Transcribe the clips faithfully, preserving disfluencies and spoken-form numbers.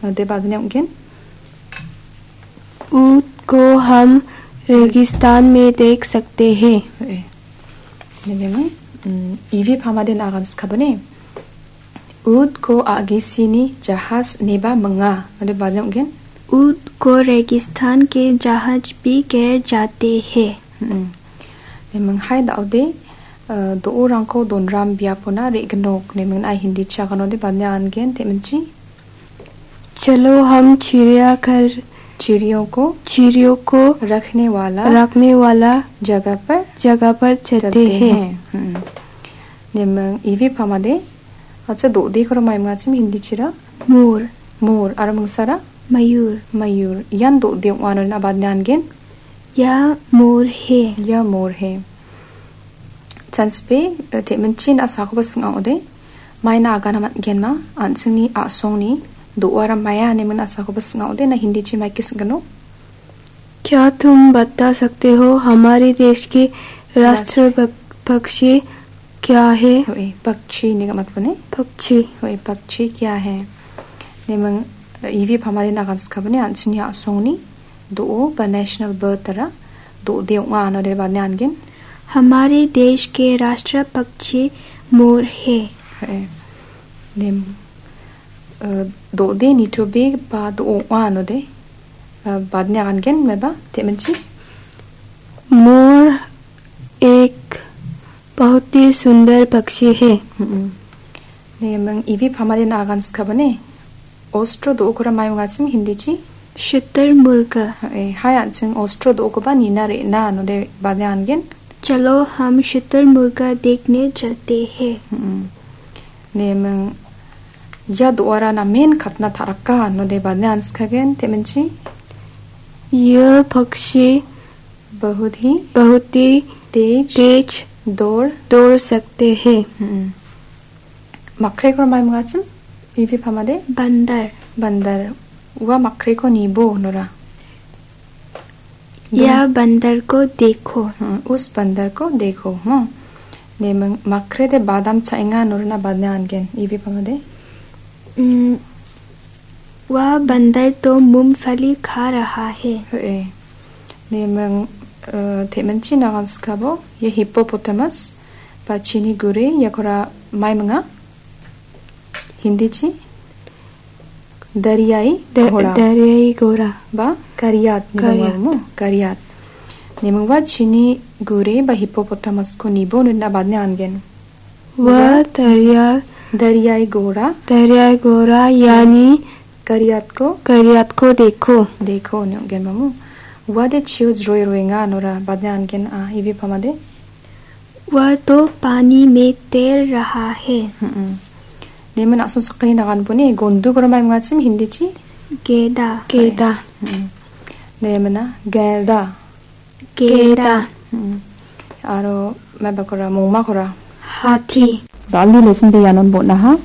Node badne ong·gen. ऊंट को हम रेगिस्तान में देख सकते हैं। Eh. Nemeng, mm, ivi pamade nagan skabane. ऊंट को आगे से नी जहाज नेबा मंगा। Node badne ong·gen. ऊंट को रेगिस्तान के जहाज भी के जाते हैं। Mm. Nemeng hai da·ode, eh, do·orangko donram biapona re·gnok. Nemeng ai Hindi chaganode badne angen teminchi. चलो हम चिड़ियाघर चिड़ियों को चिड़ियों को रखने वाला रखने वाला जगह पर जगह पर चलते चलते हैं। हैं। हम्म। Nemeng ivi pamade. Acha do·de koro mai mangachim Hindi chira. मोर। मोर. Aro mangsara? मयूर। मयूर. Ian do·de ong·a node badne angen. यह मोर है। यह मोर है. Chanspe, eh, teminchi na·sakoba sing·a ode. Maina agana man·genma, an·chingni a·songni do·ara maia ine min a·sakoba sing·a ode, na Hindi chi maike sing·gano. क्या तुम बता सकते हो हमारे देश के राष्ट्र राष्ट्र पक-, पक्षी क्या है? Hoe, pakchi ine gamatpone. पक्षी। Hoe, pakchi kya hai? Nemeng, eh, ivi pamade nagan skabane, an·chingni a·songni do·o ba national bird ara do·de ong·a node badne angen. हमारे देश के राष्ट्र पक्षी मोर है। Hoe. Nem, eh, do·de nitobe ba do·o ong·a node, eh, badne angen meba teminchi. मोर एक बहुत ही सुंदर पक्षी है। Mm-mm. Nemeng ivi pamade nagan skabane. Ostro do·okora mai mangachim Hindi chi? शुतुरमुर्ग। Eh, hai an·ching ostro do·okoba nina re·na node badne angen. चलो हम शुतुरमुर्ग देखने चलते हैं। Mm-mm. Nemeng ia do·ara namen katna taraka node badne anskagen teminchi. यह पक्षी बहुत ही बहुत ही तेज तेज दौड़ दौड़ सकते हैं। Mm-mm. Makreko mai mangachim? Ivi pamade? बंदर। बंदर. Ua makreko nibo nora. या बंदर को देखो। Hmm, us bandar ko dekho, hmm. Nemeng makrede badam cha·enga norna badne angen, ivi pamade? Hmm, वह बंदर तो मूंगफली खा रहा है। Hoe. Nemeng, eh, teminchi nagan skabo, ia hippopotamus, ba chini gure, iakora mai manga? Hindi chi? Dariyai da-, ghoda. Dariyai ghoda. Ba kariyat, ni Kariyat. Bang mo? Kariyat. Nemeng ua chini gure ba hippopotamus ko nibo nina badne angen. वह दरिया दरियाई घोड़ा दरियाई घोड़ा यानी करियात को करियात को देखो। Dekho, ni ong·gen mamu. Ua de chio jroi roenga nora badne angen a, ivi pamade? वह तो पानी में तैर रहा है। Hmm. Nemena asun sakani nagan bone, gondu gora mai mangachim Hindi chi? Geda. Geda. Hmm. Nemena, geda. Geda. Hmm. Aro mebakora, mongmakora. Hathi. Dal·ni lesson de ianon bon·aha.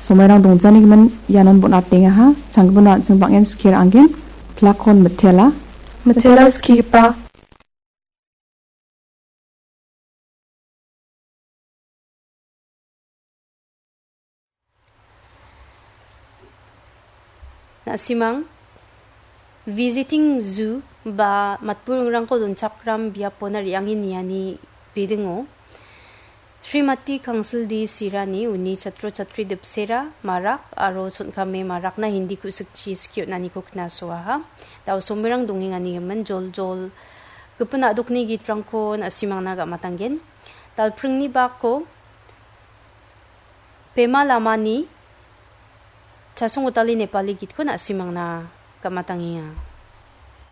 Somairang dongjani gimin ianon bon·atengaha. Changgipin an·ching bang·en skir anggen. Plakon mitela. Mitela skigipa. Na·simang visiting zoo ba matburingrangko donchakram biapona re·ange niani bidingo Srimati Kangsildi Sirani uni chatro chatri dipsera marak aro chon·kame marakna Hindi ku·sikchi skie on·aniko knasoaha. Da·o somerang dongengani gimin joljol gipin a·dokni gitrangko na·simangna gamatanggen. Dalpringni bako Pema Lamani Chasong Gotali Nepali gitko na·simangna gamatangenga.